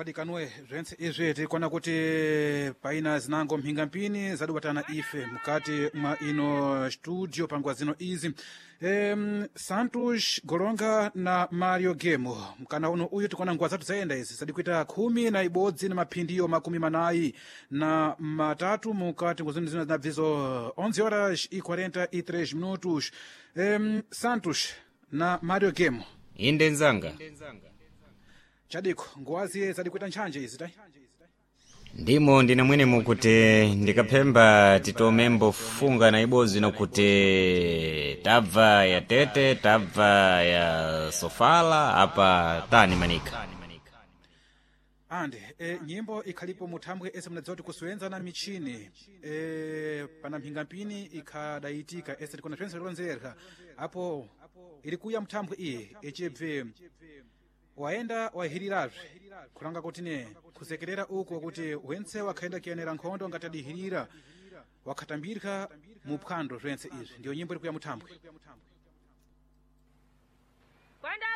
Wadikanwe zventse izvi tikuona kuti paina zinango mhingampini zadubatana ife mukati mwa ino studio panguva zino izi. Santos Golonga na Mario Gemo mkana uno uyu tikuona nguva zathu zayenda izi zadikuita 11 na maphindiyo 43 mukati ngozino zino zinabvizo 11 horas e 43 minutos. Santos na Mario Gemo. Inde nzanga. Chadiko nguwaziye zadikuita ntchanje izi tai. Ndimo ndine mwene mukuti ndikaphemba titomembo funga na ibodzi nokuti tabva ya Tete, tabva ya Sofala, apa tani manika. Andi nyimbo ikhalipo muthambwe ese munadziwa kuti kusuwenza na michini pana mhingampini ikhadayitika ese tikona twense tilonzerha apo ili kuya mthambwe iyi icibve waenda wahirirazve kulanga kuti ne kusekerera uko kuti wentse wakhaenda kuyenera nkhondo ngati adihirira wakhatambirika mu phwando zwense izvi ndiyo nyimbo iri kuya muthambwe. Kwenda.